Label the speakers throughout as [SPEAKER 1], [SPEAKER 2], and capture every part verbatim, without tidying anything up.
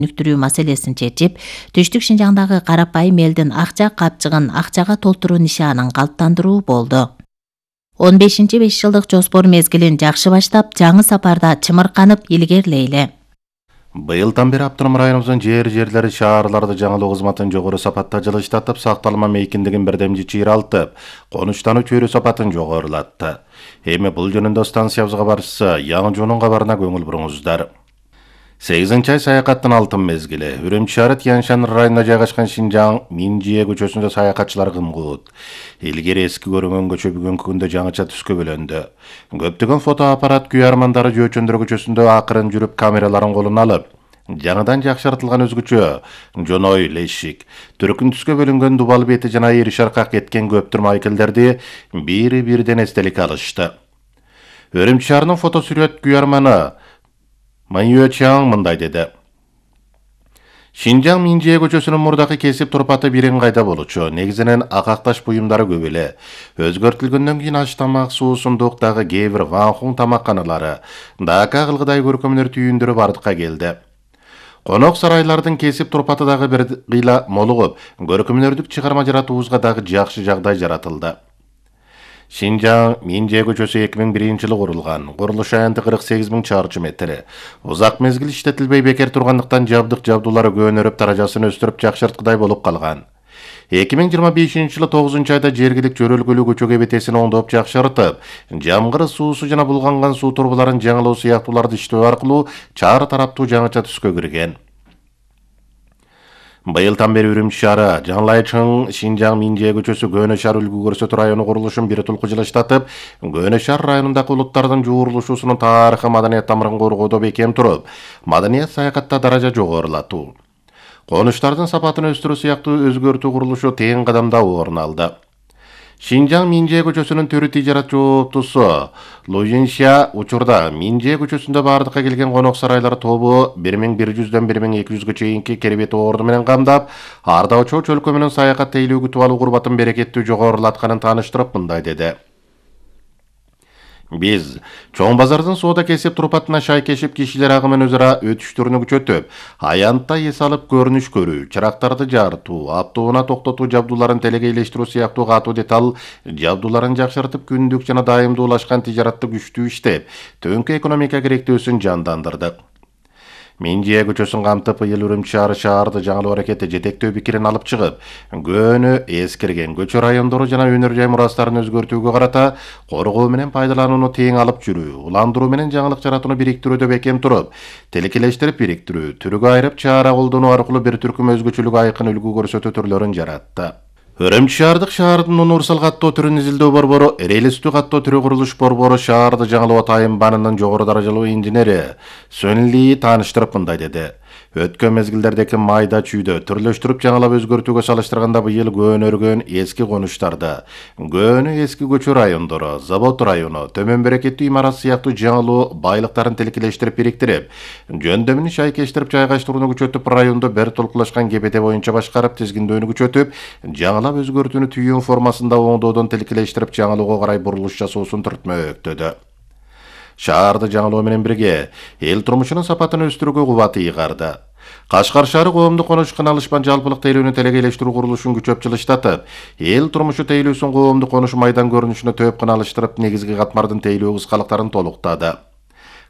[SPEAKER 1] өнүктүрүү маселесин чечип, Түштүк Шинжаңдагы карапайым элдин акча капчыгын акчага толтуруу нишанын калыптандыруу болду. он бешинчи беш жылдык жоспор мезгилин жакшы баштап, жаңы сапарда чымырканып илгерлейли.
[SPEAKER 2] Быйылдан бери Автоном районубуздун жер жерлери шаарларды жаңылоо кызматын жогору сапатта жылыштатып, сакталма мейкиндигин бирдемчи чыйралтып, конуштануу чөйрө сапатын жогорулатты. Эми бул жөнүндө станциябызга барышса, Яңжуунун кабарына көңүл буруңуздар. сегизинчи ай саякаттын алтын мезгили. Үрүмчү шаары Тяньшань районунда жайгашкан Шинжаң Минжие көчөсүндө саякатчылар кымгут. Илгери эски көрүнгөн көчө бүгүнкү күндө жаңыча түскө бөлөндү. Көптөгөн фотоаппарат күй армандары Жөөчөндөр көчөсүндө акырын жүрүп камераларын колуна алып, жаңыдан жакшыртылган өзгөчө жоной лешик, түркүн түскө бөлүнгөн дубал бети жана ири шаркак кеткен көптүр майкелдерди бири бирден эстелик алышты. Үрүмчү шаарынын фотосүрөт күй арманы Маньюэ Чаң мындай деди. Шинжаң Минжие көчөсүнүн мурдакы кесип турпаты бирин кайда болчу. Негизинен акакташ буюмдары көп эле. Өзгөртүлгөндөн кийин аш тамак, суу, сундуктагы кээ бир ванхун тамакканалары, дака кылгыдай көркөмдөр түйүндөрү бардыкка келди. Конок сарайлардын кесип турпаты дагы бир кыйла молугуп, көркөмдөрдүк чыгарма жаратуубузга дагы жакшы жагдай жаратылды. Шинжаң Минжие көчөсү эки миң биринчи жылы курулган. Курулуш аянты кырк сегиз миң чарчы метр. Узак мезгил иштетилбей бекер тургандыктан жабдык жабдуулары көөнөрүп, даражасын өстүрүп жакшырткыдай болуп калган. эки миң жыйырма бешинчи жылы тогузунчу айда жергилик жөрөлгөлүү көчө кебетесин оңдоп жакшыртып, жамгыр суусу жана булганган суу турбаларын жаңылоо сыяктууларды иштөө аркылуу чаар тараптуу жаңыча түскө кирген. Быйылдан бери Үрүмчү шаары Жаңылайчың Шинжаң Минжие көчөсү Көөнө шаар үлгү көрсөтүү району курулушун бир тулку жылыштатып, Көөнө шаар районундагы улуттардын жуурулушуусунун тарыхы маданият тамырын коргоодо бекем туруп, маданият саякатта даража жогорулатуу, конуштардын сапатын өстүрүү сыяктуу өзгөртүү курулушу тең кадамда орун алды. Шинжаң Минжие көчөсүнүн төрү тижарат жооптусу Лужинша учурда Минжие көчөсүндө бардыкка келген конок сарайлар тобу бир миң бир жүздөн бир миң эки жүзгө чейинки керебет орду менен камдап, Арда Очоо чөлкө менен саякат тейлөө күтүп алуу курбатын берекеттүү жогорулатканын тааныштырып мындай деди. Биз чоң базардын соода кесип турпатына шайкешип кишилер агымын өзара өтүштөрүнү күчөтүп, аянтта эс алып көрүнүш көрүү, чырактарды жартуу, аптууна токтотуу жабдууларын телегейлештирүү сыяктуу катуу деталь жабдууларын жакшыртып, күндүк жана дайымдуулашкан тижаратты күчтүү иштеп, төнкү экономика керектөөсүн жандандырдык. Минжие көчөсүн камтып, быйыл Үрүмчү шаары шаарды жаңылоо аракети жетектөө пикирин алып чыгып, көөнө эскирген көчө райондору жана өнөр жай мурастарын өзгөртүүгө карата коргоо менен пайдаланууну тең алып жүрүү, уландыруу менен жаңылык жаратууну бириктирүүдө бекем туруп, тилкелештирип бириктирүү, түргө айрып чаара колдонуу аркылуу бир түркүм өзгөчөлүк айкын үлгү көрсөтүү түрлөрүн жаратты. Үрүмчү шаардык шаардын универсал каттоо түрүн изилдөө борбору, релистүү каттоо түрү курулуш борбору шаарды жаңылоо тайынбанынын жогору даражалуу инженери Сөнли тааныштырып мындай деди. Өткөн мезгилдердеки майда чүйдө түрлөштүрүп жаңылап өзгөртүүгө салыштырганда быйыл көөнөргөн эски конуштарда, көөнө эски көчө райондору, завод району, төмөн берекеттүү имарат сыяктуу жаңылуу байлыктарын тилкелештирип бириктирип, жөндөмүн шайкештирип жайгаштырууну күчөтүп, райондо бир толкулашкан кебете боюнча башкарып, тизгиндөөнү күчөтүп, жаңылап өзгөртүүнү түйүн формасында оңдоодон тилкелештирип жаңылоого карай бурулуш жасоосун түртмөктөдү. Шаарды жаңылоо менен бирге эл турмушунун сапатын өстүрүүгө кубат ыйгарды. Кашкар шаары коомдук конуш кыналышпан жалпылык тейлөөнү телегейлештирүү курулушун күчөп жылыштатып, эл турмушу тейлөөсүн коомдук конуш майдан көрүнүшүнө төп кыналыштырып, негизги катмардын тейлөө кыскалыктарын толуктады.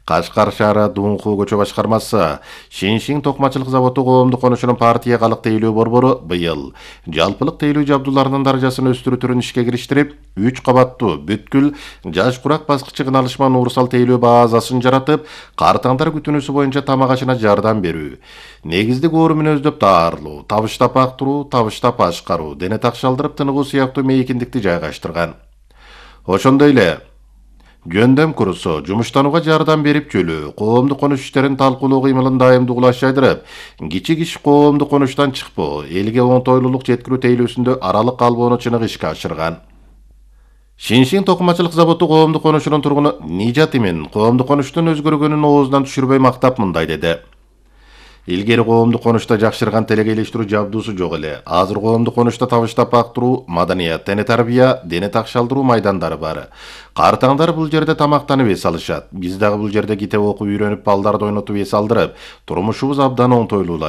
[SPEAKER 2] Кашкар шаары Дунху көчө башкармасы, Шиншиң токмачылык заводу коомдук конушунун партия калык тейлөө борбору быйыл жалпылык тейлөө жабдууларынын даражасын өстүрүү түрүн ишке кириштирип, үч кабаттуу бүткүл жаш курак баскычы кыналышман уурсал тейлөө базасын жаратып, картаңдар күтүнүүсү боюнча тамак ашына жардам берүү, негиздик оору мүнөздөп даарылоо, табыштап актыруу, табыштап ашкаруу, дене такшалдырып тыныгуу сыяктуу мейкиндикти жайгаштырган. Ошондой эле жөндөм курусу, жумуштанууга жардам берип жөлөө, коомдук конуш иштерин талкуулоо кыймылын дайымдуулаш жайдырып, кичи иш коомдук конуштан чыкпоо, элге оңтойлуулук жеткирүү тейлөөсүндө аралык калбоону чыныгы ишке ашырган. Шиншиң токмачылык заводу коомдук конушунун тургуну Нижат Имин коомдук конуштун өзгөргөнүн оозунан түшүрбөй мактап мындай деди. Илгери коомдук конушта жакшырган телегейлештирүү жабдуусу жок эле. Азыр коомдук конушта табыштап актыруу, маданият, дене тарбия, дене такшалдыруу майдандары бар. Картаңдар бул жерде тамактанып эс алышат. Биз дагы бул жерде китеп окуп үйрөнүп, балдарды ойнотуп эс алдырып, турмушубуз абдан оңтойлуулашат.